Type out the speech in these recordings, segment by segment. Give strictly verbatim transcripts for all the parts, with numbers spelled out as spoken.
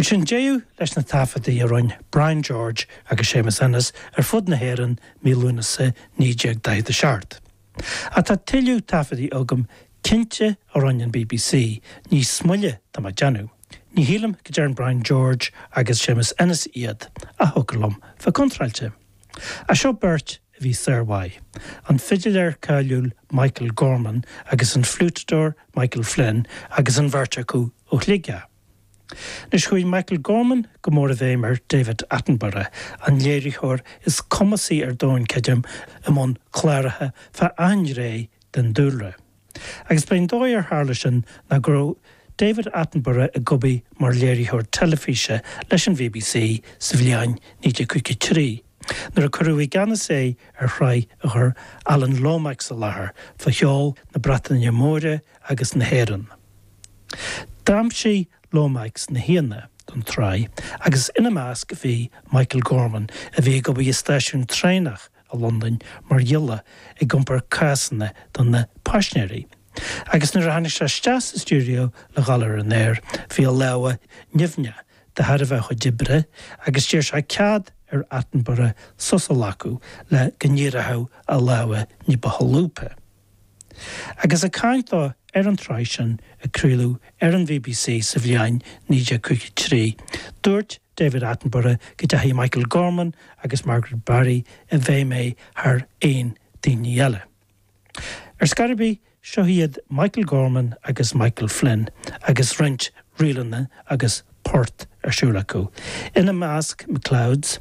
Bhuel sin deireadh leis na taifeadtaí a rinne Brian George agus Séamus Ennis ar fud na hÉireann mí Lúnasa naoi déag daichead a seacht. Ach tá tuilleadh taifeadtaí agam cinnte a rinne an BBC níos moille tá mé ag déanamh. Ní shílim go ndearna Brian George agus Séamus Ennis iad ach thiocfadh liom bheith contráilte. Ach seo beirt a bhí sármhaith. An fidiléir cáiliúil Michael Gorman agus an fliútadóir Michael Flynn agus an bheirt acu ó Shligeach. Anois chuaigh Michael Gorman go mór i bhfeidhm ar David Attenborough, an léiritheoir is cumasaí ar domhan creidim i mbun cláracha fá achan ghné den dúlra. Agus b'é an dóigh ar tharla sin ná go raibh David Attenborough ag obair mar léiritheoir teilifíse leis an BBC sa bhliain naoi déag caoga trí, nuair a cuireadh i gceannas é ar shraith a chuir Alan Lomax i láthair fá cheol na Breataine Móire agus na hÉireann. D'aimsigh Lomax na haíonna don tsraith agus ina measc bhí Michael Gorman a bhí ag obair i stáisiún traenach i Londain mar ghiolla ag iompar cásanna do na paisinéirí. Agus nuair a tháinig sé isteach sa stiúideo le dhul ar an aer, bhí a lámha nimhneach de thairbhe a chuid oibre agus d'iarr sé cead ar Attenborough sos a ghlacadh le go n-éireodh a lámha ní ba sholúbtha. Agus ag caint dó ar an tsraith sin a craoladh ar an BBC sa bhliain naoi déag caoga trí, dúirt David Attenborough go ndeachaigh Michael Gorman agus Margaret Barry i bhfeidhm air thar aon daoine eile. Ar scor ar bith, seo iad Michael Gorman agus Michael Flynn agus roinnt ríleanna agus port ar siúl acu. Ina measc McLeod's,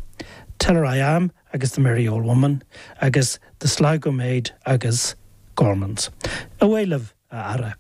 Tell Her I Am agus The Merry Old Woman agus The Sligo Maid agus Gormans. Away libh a fheara.